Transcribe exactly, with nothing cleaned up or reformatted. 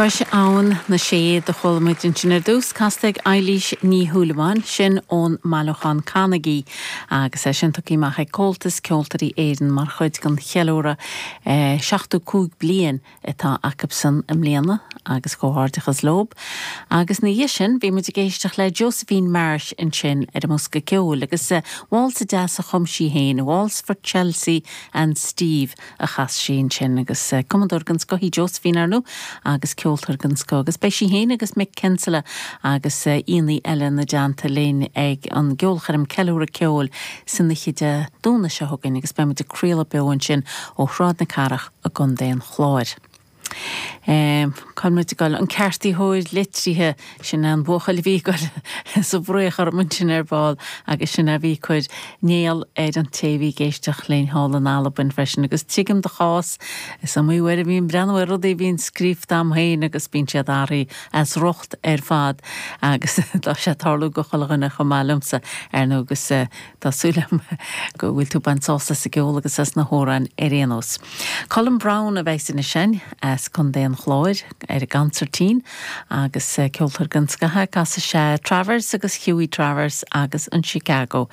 Cois Abhann na Sé a chuala muid ansin ar dtús casta ag Eilís Ní Shúilleabháin sin ón mbailiúchán Canaigí agus é sin tugtha amach ag Comhaltas Ceoltóirí Éireann mar chuid den cheiliúradh eh, seachtó cúig bliain atá acusan i mbliana agus comhghairdeachas leo. Agus ina dhiaidh sin bhí muid ag éisteacht le Josephine Marsh ansin ar an mbosca ceoil agus uh, Waltz deas a chum sí féin, Waltz for Chelsea and Steve a chas sí ansin agus uh, cumadóir den scoth í Josephine ar ndóigh agus ceoltóir den scoth agus beidh sí féin agus Mick Kinsella agus aíonna eile ina dteannta linn ag an gceolchoirm ceiliúradh ceoil san oíche Dé Domhnaigh seo chugainn agus beimid ag craoladh beo ansin ó Shráid na Cathrach i gContae an Chláir. Um, Cáid gáil an ceartaitheoir litrithe sin an buachaill bhí sa bhréchar mun sin ar ball agus sin a bhí ag cur néal ar an té a bhí ag éisteacht linn thall in Albain freisin agus tuigim do chás is iomaí uair a bhím ag breathnú ar rudaí a bhíonn scríofa agam féin agus bíonn siad athraithe as riocht ar fad agus tá sé ag tarlú do chuile dhuine chomh maith liomsa ar ndóigh agus uh, tá súil agam go bhfuil tú ag baint sásamh as an gceol agus as na hamhráin ar aon nós. Colin Brown a bheidh ansin as Contae an Chláir ar an gconsairtín agus ceoltóir den scoth casfaidh sé Travers agus Hughie Travers agus an Chicago.